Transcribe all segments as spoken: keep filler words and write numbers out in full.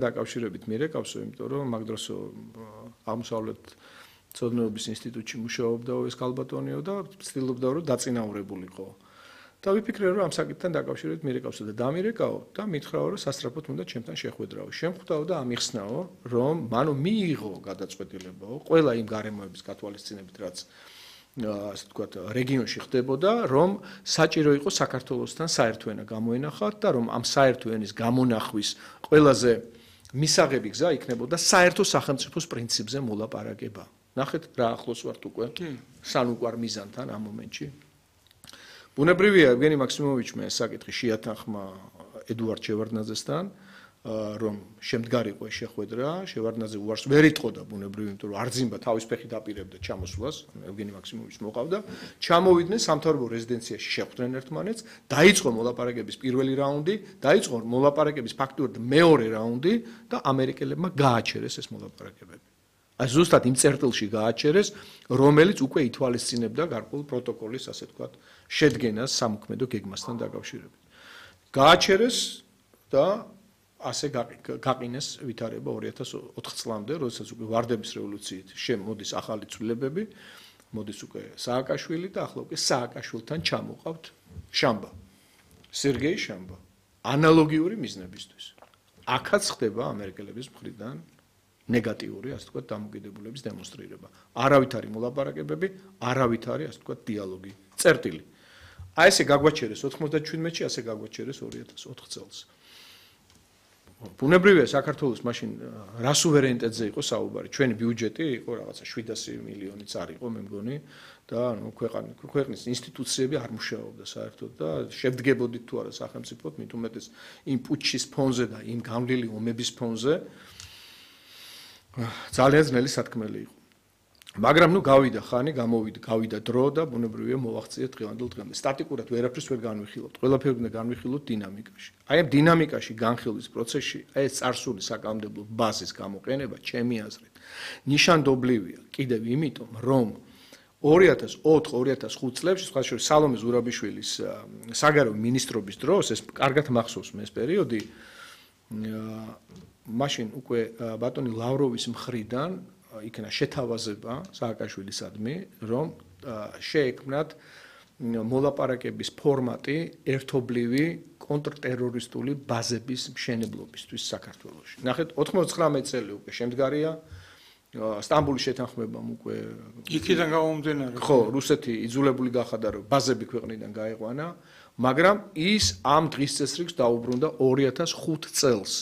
დაკავშირებით მირეკავსო, იმიტომ რომ მაგ დროს აღმოსავლეთ ცოდნეობის ინსტიტუტში მუშაობდა ეს ქალბატონიო და ცდილობდა რომ დაწინაურებულიყო. და ვიფიქრე რომ ამ საკითხთან დაკავშირებით მირეკავსო და დამირეკაო და მითხრაო რომ სასწრაფოდ უნდა ჩემთან შეხვედრაო. შემხვდაო და ამიხსნაო რომ მანო მიიღო გადაწყვეტილებაო ყველა იმ გარემოების გათვალისწინებით რაც ასე ვთქვათ რეგიონში ხდებოდა რომ საჭირო იყო საქართველოსთან საერთო ენა გამოენახათ და რომ ამ საერთო ენის გამონახვის ყველაზე მისაღები გზა იქნებოდა საერთო სახელმწიფოს პრინციპზე მოლაპარაკება. ნახეთ რა ახლოს ვართ უკვე სანუკვარ მიზანთან ამ მომენტში. ბუნებრივია ევგენი მაქსიმოვიჩმა ეს საკითხი შეათანხმა ედუარდ შევარდნაძესთან რომ შემდგარიყო ეს შეხვედრა, შევარდნაძე უარს ვერ იტყოდა ბუნებრივია, იმიტომ რომ არძიმბა თავის ფეხით აპირებდა ჩამოსვლას, ევგენი მაქსიმოვიჩს მოყავდა, ჩამოვიდნენ სამთავრობო რეზიდენციაში შეხვდნენ ერთმანეთს, დაიწყო მოლაპარაკების პირველი რაუნდი, დაიწყო მოლაპარაკების ფაქტურად მეორე რაუნდი და ამერიკელებმა გააჩერეს ეს მოლაპარაკებები. აი ზუსტად იმ წერტილში გააჩერეს, რომელიც უკვე ითვალისწინებდა გარკვეულ პროტოკოლის, ასე ვთქვათ, შედგენას სამოქმედო გეგმასთან დაკავშირებით. გააჩერეს და ასე გაყინეს ვითარება ორი ათას ოთხ წლამდე, როდესაც უკვე ვარდების რევოლუციით შემოდის ახალი ცვლილებები, მოდის უკვე სააკაშვილი და ახლა უკვე სააკაშვილთან ჩამოყავთ შამბა. სერგეი შამბა. ანალოგიური მიზნებისთვის. აქაც ხდება ამერიკელების მხრიდან ნეგატიური, ასე ვთქვათ, დამოკიდებულების დემონსტრირება. არავითარი მოლაპარაკებები, არავითარი, ასე ვთქვათ, დიალოგი. წერტილი. აი ესე გაგვაჩერეს ოთხმოცდაჩვიდმეტში, ასე გაგვაჩერეს ორი ათას ოთხ წელს. ბუნებრივია საქართველოს მაშინ რა სუვერენიტეტზე იყო საუბარი. ჩვენი ბიუჯეტი იყო რაღაცა შვიდასი მილიონიც არ იყო, მე მგონი, და ნუ ქვეყნის ინსტიტუციები არ მუშაობდა საერთოდ და შევდგებოდით თუ არა სახელმწიფოდ, მით უმეტეს იმ პუტჩის ფონზე და იმ გამლილი ომების ფონზე. ძალიან ძნელი სათქმელი იყო. მაგრამ ნუ გავიდა ხანი, გამოვიდა, გავიდა დრო და ბუნებრივია მოვაღწია დღევანდელ დღემდე. სტატიკურად ვერაფერს ვერ განვიხილოთ. ყველაფერი უნდა განვიხილოთ დინამიკაში. აი ამ დინამიკაში განხილვის პროცესში აი ეს წარსული საკანონმდებლო ბაზის გამოყენება, ჩემი აზრით, ნიშანდობლივია კიდევ იმიტომ, რომ ორი ათას ოთხ ორი ათას ხუთ წლებში, სხვა შორის სალომე ზურაბიშვილის საგარეო მინისტრობის დროს, ეს კარგად მახსოვს მე ეს პერიოდი, მაშინ უკვე ბატონი ლავროვის მხრიდან იქნა შეთავაზება სააკაშვილისადმი, რომ შეექმნათ მოლაპარაკების ფორმატი ერთობლივი კონტრტერორისტული ბაზების მშენებლობისთვის საქართველოში. ნახეთ, ოთხმოცდათხმეტი წელი უკვე შემდგარია, სტამბოლის შეთანხმებამ უკვე იქიდან გამომდინარე. ხო, რუსეთი იძულებული გახადა, რომ ბაზები ქვეყნიდან გაეყვანა, მაგრამ ის ამ დღის წესრიგს დაუბრუნდა ორი ათას ხუთ წელს.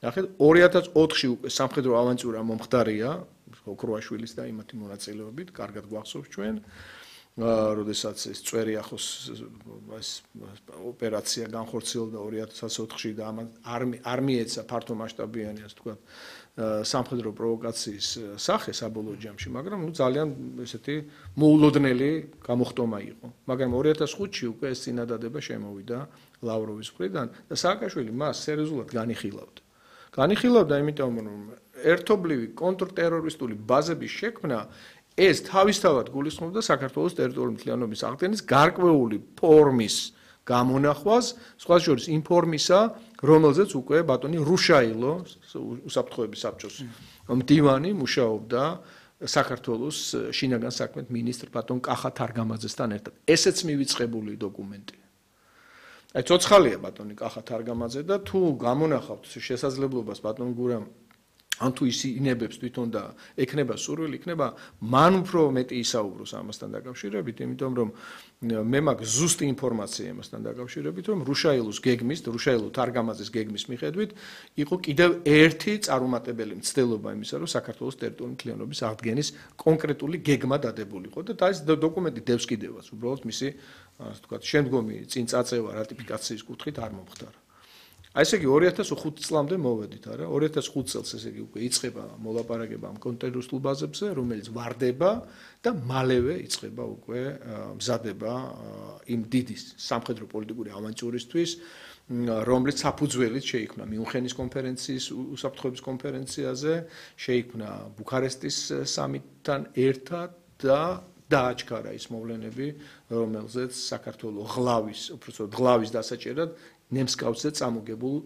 ნახეთ, ორი ათას ოთხში უკვე სამხედრო ავანტიურა მომხდარია, ოქროაშვილის და იმათი მონაწილეობით, კარგად გვახსოვს ჩვენ, როდესაც ეს წვერიახოს ეს ოპერაცია განხორციელდა ორი ათას ოთხში და არ მიეცა ფართო მასშტაბიანი, ასე ვთქვათ, სამხედრო პროვოკაციის სახე საბოლოო ჯამში, მაგრამ ნუ ძალიან ესეთი მოულოდნელი გამოხტომა იყო. მაგრამ ორი ათას ხუთში უკვე ეს წინადადება შემოვიდა ლავროვის მხრიდან და სააკაშვილი მას სერიოზულად განიხილავდა. განიხილავდა იმიტომ, რომ ერთობლივი კონტრტერორისტული ბაზების შექმნა ეს თავისთავად გულისხმობდა საქართველოს ტერიტორიული მთლიანობის აღდგენის გარკვეული ფორმის გამონახვას, სხვა შორის იმ ფორმისა, რომელზეც უკვე ბატონი რუშაილო, უსაფრთხოების საბჭოს მდივანი მუშაობდა საქართველოს შინაგან საქმეთა მინისტრ ბატონ კახა თარგამაძესთან ერთად. ესეც მივიწყებული დოკუმენტია. აი ცოცხალია ბატონი კახა თარგამაძე და თუ გამონახავთ შესაძლებლობას ბატონ გურამ ან თუ ის ინებებს თვითონ და ექნება სურვილი, იქნება მან უფრო მეტი ისაუბროს ამასთან დაკავშირებით, იმიტომ რომ მე მაქვს ზუსტი ინფორმაცია ამასთან დაკავშირებით, რომ რუშაილოს გეგმის, რუშაილო თარგამაძის გეგმის მიხედვით იყო კიდევ ერთი წარუმატებელი მცდელობა იმისა, რომ საქართველოს ტერიტორიული მთლიანობის აღდგენის კონკრეტული გეგმა დადებულიყო და ეს დოკუმენტი დევს კიდევაც, უბრალოდ მისი, ასე ვთქვათ, შემდგომი წინ წაწევა რატიფიკაციის კუთხით არ მომხდარა. აი ესე იგი ორი ათას ხუთ წლამდე მოვედით, არა? ორი ათას ხუთ წელს ესე იგი უკვე იწყება მოლაპარაკება ამ კონტრტერორისტულ ბაზებზე, რომელიც ვარდება და მალევე იწყება უკვე მზადება იმ დიდი სამხედრო პოლიტიკური ავანტიურისთვის, რომლის საფუძველით შეიქმნა მიუნხენის კონფერენციის უსაფრთხოების კონფერენციაზე, შეიქმნა ბუქარესტის სამიტთან ერთად და დააჩქარა ის მოვლენები, რომელზეც საქართველოს ღლავის, უბრალოდ ღლავის დასაჭერად ნემსკავზე წამოგებულ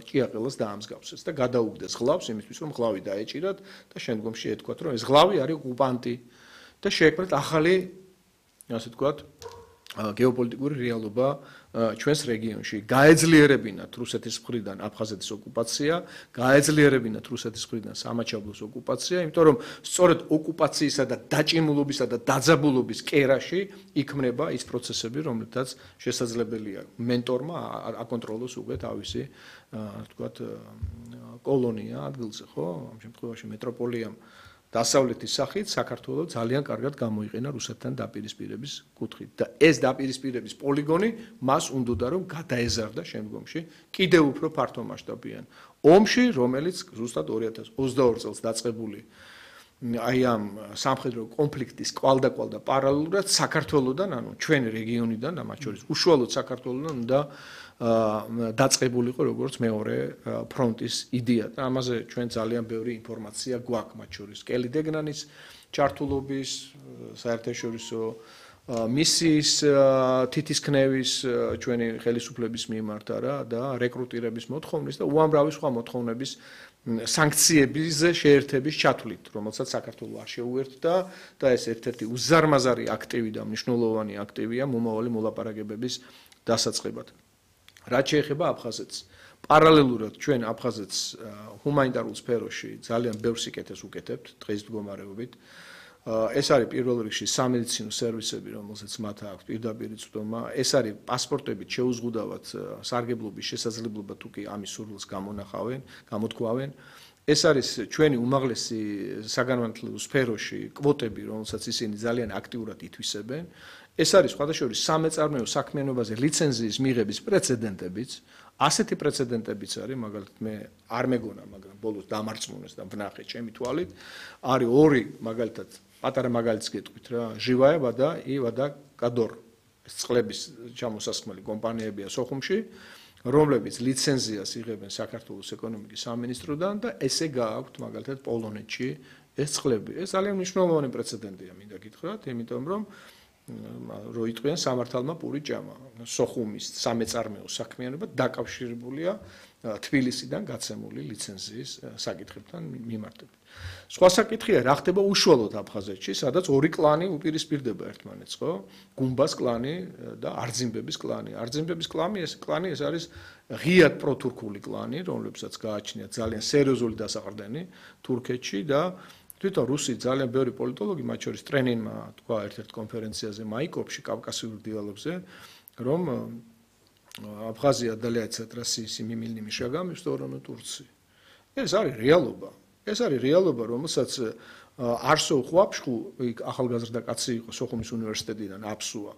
ჭიაყელას დაამსგავსეს და გადაუგდეს ღლავს იმისთვის რომ ღლავი დაეჭირათ და შემდგომში ეთქვათ რომ ეს ღლავი არის ოკუპანტი და შეექმნათ ახალი ასე ვთქვათ გეოპოლიტიკური რეალობა ჩვენს რეგიონში გაეძლიერებინათ რუსეთის მხრიდან აფხაზეთის ოკუპაცია, გაეძლიერებინათ რუსეთის მხრიდან სამაჩაბლოს ოკუპაცია, იმიტომ რომ სწორედ ოკუპაციისა და დაჭიმულობისა და დაძაბულობის კერაში იქმნება ის პროცესები, რომლითაც შესაძლებელია მენტორმა აკონტროლოს უკვე თავისი, ვთქვათ, კოლონია ადგილზე, ხო? ამ შემთხვევაში მეტროპოლიამ დასავლეთის სახით საქართველოს ძალიან კარგად გამოიყენა რუსეთთან დაპირისპირების კუთხით და ეს დაპირისპირების პოლიგონი მას უნდოდა რომ გადაეზარდა შემდგომში კიდევ უფრო ფართო მასშტაბიან ომში, რომელიც ზუსტად ორი ათას ოცდაორი წელს დაწყებული აი ამ სამხედრო კონფლიქტის კვალდაკვალ და პარალელურად საქართველოსთან, ანუ ჩვენ რეგიონიდან და მათ შორის უშუალოდ საქართველოსთან უნდა დაწყებულიყო როგორც მეორე ფრონტის იდეა და ამაზე ჩვენ ძალიან ბევრი ინფორმაცია გვაქვს მათ შორის კელი დეგნანის ჩართულობის საერთაშორისო მისიის თითისქნევის ჩვენი ხელისუფლების მიმართ არა და რეკრუტირების მოთხოვნის და უამრავი სხვა მოთხოვნების სანქციებზე შეერთების ჩათვლით, რომელსაც საქართველოს არ შეუერთდა და ეს ერთ-ერთი უზარმაზარი აქტივი და მნიშვნელოვანი აქტივია მომავალი მოლაპარაკებების დასაწყებად. რაც შეეხება აფხაზეთს, პარალელურად ჩვენ აფხაზეთს ჰუმანიტარულ სფეროში ძალიან ბევრ სიკეთეს უკეთებთ დღეს მდგომარეობით. ეს არის პირველ რიგში სამედიცინო სერვისები, რომელსაც მათ აქვს პირდაპირ წვდომა. ეს არის პასპორტებით შეუზღუდავად სარგებლობის შესაძლებლობა თუ კი ამის სურვილს გამონახავენ, გამოთქვავენ. ეს არის ჩვენი უმაღლესი საგანმანათლებლო სფეროში კვოტები, რომელსაც ისინი ძალიან აქტიურად ითვისებენ. ეს არის სხვადასხვა სამეწარმეო საქმიანობაზე ლიცენზიის მიღების პრეცედენტებიც. ასეთი პრეცედენტებიც არის, მაგალითად მე არ მეგონა, მაგრამ ბოლოს დამარწმუნეს და ვნახე ჩემი თვალით, არის ორი მაგალითად პატარა მაგალითს გეტყვით რა, ჟივაევა და ива და კადორ. ეს წყლების ჩამოსასხმელი კომპანიებია სოხუმში, რომლებიც ლიცენზიას იღებენ საქართველოს ეკონომიკის სამინისტროდან და ესე გააქვთ მაგალითად პოლონეთში ეს წყლები. ეს ძალიან მნიშვნელოვანი პრეცედენტია, მინდა გითხრათ, იმიტომ რომ რო იტყვიან სამართალმა პური ჭამა. სოხუმის სამეწარმეო საქმიანობა დაკავშირებულია თბილისიდან გაცემული ლიცენზიის საკითხებთან მიმართებით. სხვა საკითხია, რა ხდება უშუალოდ აფხაზეთში, სადაც ორი კლანი უპირისპირდება ერთმანეთს, ხო? გუმბას კლანი და არძიმბების კლანი. არძიმბების კლანი ეს კლანი ეს არის ღიად პროთურქული კლანი, რომლებსაც გააჩნიათ ძალიან სერიოზული დასაყრდენი თურქეთში და თვითონ რუსი ძალიან ბევრი პოლიტოლოგი, მათ შორის ტრენინმა თქვა ერთ-ერთ კონფერენციაზე მაიკოპში კავკასიურ დიალოგზე, რომ აფხაზია отдаляется от России семимильными шагами в сторону Турции. ეს არის რეალობა. ეს არის რეალობა, რომელსაც არსო ხვაფშხუ ახალგაზრდა კაცი იყო სოხუმის უნივერსიტეტიდან აფსუა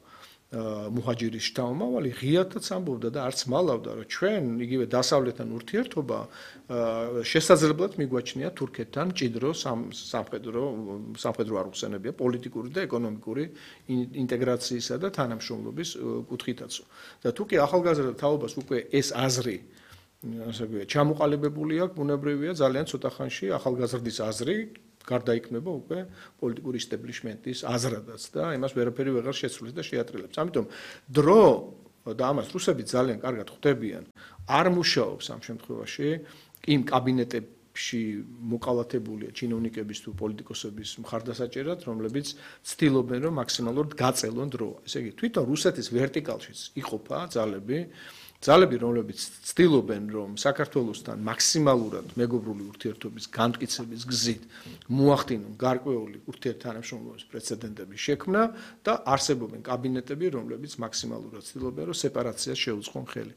მუჰაჯირის შთამომავალი ღიათაც ამბობდა და არც მალავდა რომ ჩვენ იგივე დასავლეთთან ურთიერთობა შესაძლებლად მიგვაჩნია თურქეთთან მჭიდრო სამხედრო სამხედრო არ უხსენებია პოლიტიკური და ეკონომიკური ინტეგრაციისა და თანამშრომლობის კუთხითაც და თუ კი ახალგაზრდა თაობას უკვე ეს აზრი ასე ვთქვათ ჩამოყალიბებული აქვს ბუნებრივია ძალიან ცოტა ხანში ახალგაზრდის აზრი გარდაიქმნება უკვე პოლიტიკური ისტებლიშმენტის აზრადაც და იმას ვერაფერი ვეღარ შეცვლის და შეატრილებს. ამიტომ დრო და ამას რუსები ძალიან კარგად ხვდებიან, არ მუშაობს ამ შემთხვევაში იმ კაბინეტებში მოკალათებულია ჩინოვნიკების თუ პოლიტიკოსების მხარდასაჭერად, რომლებიც ცდილობენ რომ მაქსიმალურად გაწელონ დრო. ესე იგი, თვითონ რუსეთის ვერტიკალშიც იყოფა ძალები ძალები, რომლებიც ცდილობენ, რომ საქართველოსთან მაქსიმალურად მეგობრული ურთიერთობის განმტკიცების გზით მოახდინონ გარკვეული ურთიერთთანამშრომლობის პრეცედენტების შექმნა და არსებობენ კაბინეტები, რომლებიც მაქსიმალურად ცდილობენ, რომ სეპარაციას შეუწყონ ხელი.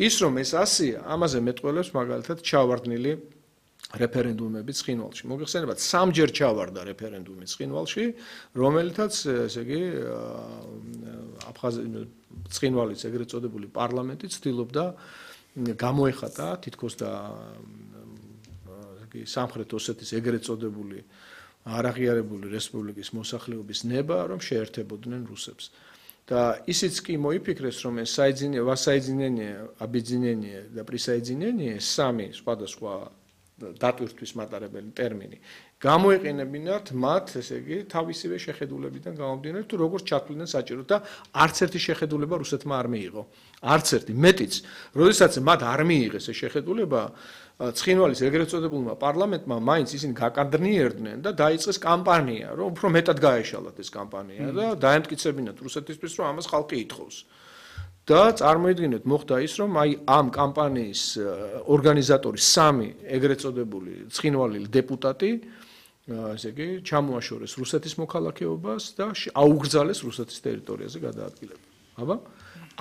ის რომ ეს ასია, ამაზე მეტყველებს მაგალითად ჩავარდნილი რეფერენდუმები ცხინვალში. მოგეხსენებათ, სამჯერ ჩავარდა რეფერენდუმი ცხინვალში, რომელთაც, ესე იგი, აფხაზ ცხინვალის ეგრეთ წოდებული პარლამენტი ცდილობდა გამოეხატა თითქოს და სამხრეთ ოსეთის ეგრეთ წოდებული არაღიარებული რესპუბლიკის მოსახლეობის ნება, რომ შეერთებოდნენ რუსებს. და ისიც კი მოიფიქრეს, რომ ეს საიძინე, ვასაიძინენიე, აბიძინენიე და პრისაიძინენიე სამი სხვადასხვა დატვირთვის მატარებელი ტერმინი. გამოეყენებინათ მათ, ესე იგი, თავისივე შეხედულებიდან გამომდინარე, თუ როგორ ჩათვლიდნენ საჭიროდ და არც ერთი შეხედულება რუსეთმა არ მიიღო. არც ერთი, მეტიც, როდესაც მათ არ მიიღეს ეს შეხედულება, ცხინვალის ეგრეთ წოდებულმა პარლამენტმა მაინც ისინი გაკადრნიერდნენ და დაიწყეს კამპანია, რომ უფრო მეტად გაეშალათ ეს კამპანია და დაემტკიცებინათ რუსეთისთვის, რომ ამას ხალხი ითხოვს. და წარმოიდგინეთ, მოხდა ის, რომ აი ამ კამპანიის ორგანიზატორი სამი ეგრეთ წოდებული ცხინვალილი დეპუტატი, ესე იგი, ჩამოაშორეს რუსეთის მოქალაქეობას და აუგრძალეს რუსეთის ტერიტორიაზე გადაადგილება. აბა?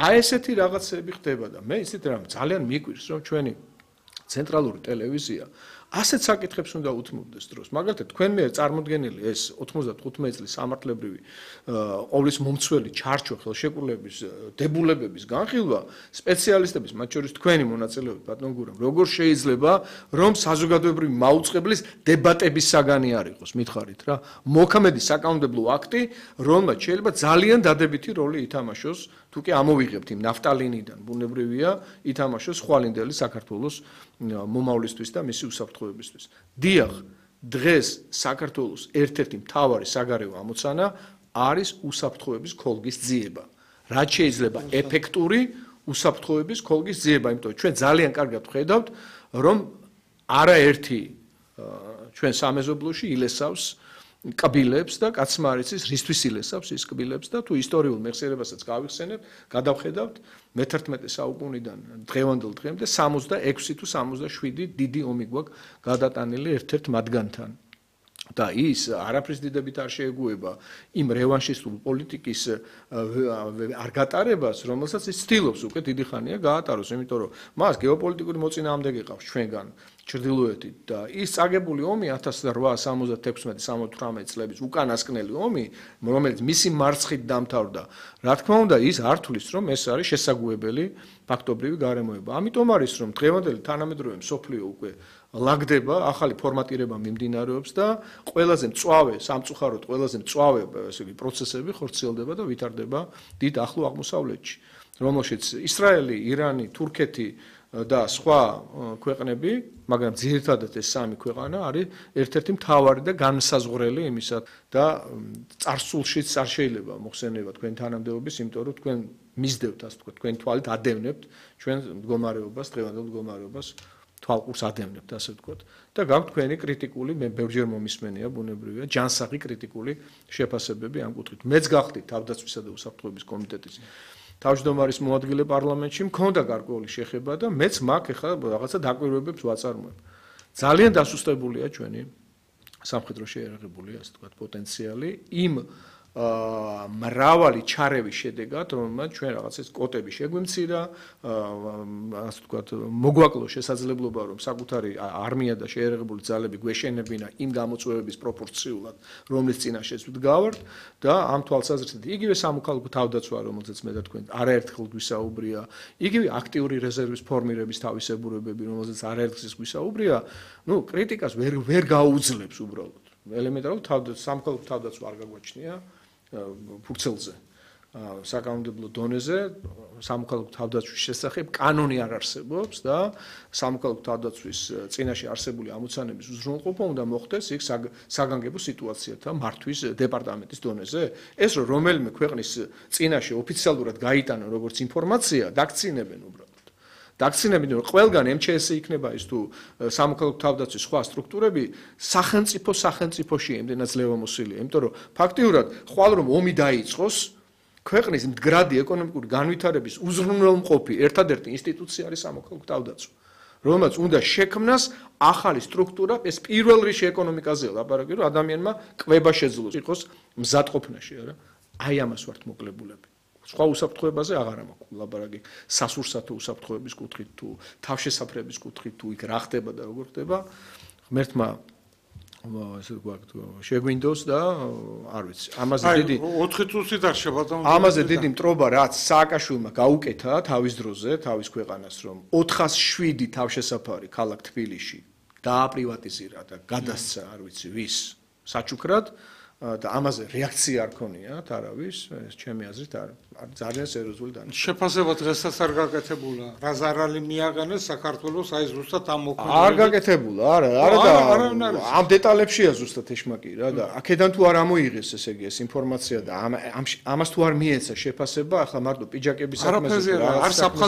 აი ესეთი რაღაცები ხდება და მე ისეთ რამ ძალიან მიგვირს, რომ ჩვენი ცენტრალური ტელევიზია ასეთ საკითხებს უნდა უთმობდეს დროს. მაგალითად, თქვენ მე წარმოდგენილი ეს ოცდათხუთმეტი წლის სამართლებრივი ყოვლის მომცველი ჩარჩო ხელშეკრულების დებულებების განხილვა სპეციალისტების, მათ შორის თქვენი მონაწილეობით, ბატონ გურამ, როგორ შეიძლება, რომ საზოგადოებრივი მაუწყებლის დებატების საგანი არ იყოს, მითხარით რა. მოქმედი საკანონმდებლო აქტი, რომელმაც შეიძლება ძალიან დადებითი როლი ითამაშოს, თუ კი ამოვიღებთ იმ ნაფტალინიდან, ბუნებრივია, ითამაშოს ხვალინდელი საქართველოს მომავლისთვის და მისი უსაფრთხოებისთვის. დიახ, დღეს საქართველოს ერთ-ერთი მთავარი საგარეო ამოცანა არის უსაფრთხოების ქოლგის ძიება. რაც შეიძლება ეფექტური უსაფრთხოების ქოლგის ძიება, იმიტომ ჩვენ ძალიან კარგად ვხედავთ, რომ არაერთი ჩვენ სამეზობლოში ილესავს კბილებს და კაცმარიცის რისთვის ილესავს ის კბილებს და თუ ისტორიულ მეხსიერებასაც გავიხსენებთ, გადავხედავთ მეთერთმეტე საუკუნიდან დღევანდელ დღემდე სამოცდაექვსი თუ სამოცდაშვიდი დიდი ომი გვაქვს გადატანილი ერთ-ერთ მათგანთან. და ის არაფრის დიდებით არ შეეგუება იმ რევანშისტულ პოლიტიკის არ გატარებას, რომელსაც ის ცდილობს უკვე დიდი ხანია გაატაროს, იმიტომ რომ მას გეოპოლიტიკური მოწინააღმდეგე ყავს ჩვენგან ჩრდილოეთით და ის წაგებული ომი ათას რვაასი სამოცდათექვსმეტი სამოცდათვრამეტი წლების უკანასკნელი ომი, რომელიც მისი მარცხით დამთავრდა, რა თქმა უნდა, ის არ თulis, რომ ეს არის შესაძუებელი ფაქტობრივი გარემოება. ამიტომ არის, რომ დღევანდელი თანამედროვე მსოფლიო უკვე ლაგდება, ახალი ფორმატირება მიმდინარეობს და ყველაზე მწვავე, სამწუხაროდ ყველაზე მწვავე ესე იგი პროცესები ხორციელდება და ვითარდება დიდ ახლო აღმოსავლეთში, რომელშიც ისრაელი, ირანი, თურქეთი და სხვა ქვეყნები, მაგრამ ძირითადად ეს სამი ქვეყანა არის ერთ-ერთი მთავარი და განსაზღვრელი იმისა და წარსულშიც არ შეიძლება მოხსენება თქვენ თანამდებობის, იმიტომ რომ თქვენ მისდევთ, ასე ვთქვათ, თქვენ თვალით ადევნებთ ჩვენ მდგომარეობას, დღევანდელ მდგომარეობას თვალყურს ადევნებთ, ასე ვთქვათ. და გაქვთ თქვენი კრიტიკული, მე ბევრჯერ მომისმენია, ბუნებრივია, ჯანსაღი კრიტიკული შეფასებები ამ კუთხით. მეც გახდით თავდაცვისა და უსაფრთხოების კომიტეტის თავმჯდომარის მოადგილე პარლამენტში, მქონდა გარკვეული შეხება და მეც მაგ ეხლა რაღაცა დაკვირვებებს ვაწარმოებ. ძალიან დასუსტებულია ჩვენი სამხედრო შეიარაღებული, ასე ვთქვათ, პოტენციალი იმ მრავალი ჩარევის შედეგად, რომელმაც ჩვენ რაღაცას კოტები შეგვიმცირა, ასე ვთქვათ, მოგვაკლო შესაძლებლობა, რომ საკუთარი არმია და შეიარაღებული ძალები გვეშენებინა იმ გამოწვევების პროპორციულად, რომლის წინაშეც ვდგავართ და ამ თვალსაზრისით იგივე სამოქალაქო თავდაცვა, რომელზეც მე და თქვენ არაერთხელ გვისაუბრია, იგივე აქტიური რეზერვის ფორმირების თავისებურებები, რომელზეც არაერთხელ გვისაუბრია, ну, კრიტიკას ვერ ვერ გაუძლებს უბრალოდ. ელემენტარულად სამოქალაქო თავდაცვა არ გაგვაჩნია ფურცელზე, საკანონმდებლო დონეზე, სამოქალაქო თავდაცვის შესახებ კანონი არ არსებობს და სამოქალაქო თავდაცვის წინაშე არსებული ამოცანების უზრუნველყოფა უნდა მოხდეს იქ საგანგებო სიტუაციათა მართვის დეპარტამენტის დონეზე. ეს რომ რომელიმე ქვეყნის წინაშე ოფიციალურად გაიტანონ როგორც ინფორმაცია, დაქცინებენ უბრალოდ. დაქცინებენ, რომ ყველგან ემ ჩე ესი იქნება ის თუ სამოქალაქო თავდაცვის სხვა სტრუქტურები სახელმწიფო სახელმწიფოში ემდენად ძლევამოსილია, იმიტომ რომ ფაქტიურად ხვალ რომ ომი დაიწყოს, ქვეყნის მდგრადი ეკონომიკური განვითარების უზრუნველმყოფი ერთადერთი ინსტიტუცია არის სამოქალაქო თავდაცვა, რომელმაც უნდა შექმნას ახალი სტრუქტურა, ეს პირველ რიგში ეკონომიკაზეა ლაპარაკი, რომ ადამიანმა კვება შეძლოს იყოს მზადყოფნაში, არა? აი ამას ვართ მოკლებულები. სხვა უსაფრთხოებაზე აღარა მაქვს ლაპარაკი, სასურსათო უსაფრთხოების კუთხით თუ თავშესაფრების კუთხით თუ იქ რა ხდება და როგორ ხდება, ღმერთმა ესე ვთქვათ, შეგვინდოს და არ ვიცი. ამაზე დიდი ოთხი წუთით არ შევადამ. ამაზე დიდი მტრობა რაც სააკაშვილმა გაუკეთა თავის დროზე, თავის ქვეყანას, რომ ოთხას შვიდი თავშესაფარი ქალაქ თბილისში დააპრივატიზირა და გადასცა, არ ვიცი, ვის საჩუქრად. და ამაზე რეაქცია არ ქონიათ არავის, ეს ჩემი აზრით არ არის ძალიან სერიოზული დანიშნულება. შეფასება დღესაც არ გაკეთებულა. რა ზარალი მიაღენეს საქართველოს აი ზუსტად ამ არ მოქმედებებით. გაკეთებულა, არა, არა და ამ დეტალებშია ზუსტად ეშმაკი რა და აქედან თუ არ ამოიღეს ესე იგი ეს ინფორმაცია და ამ ამას თუ არ მიეცა შეფასება, ახლა მარტო პიჯაკების საქმეზე არაფერზე არ საფხაზ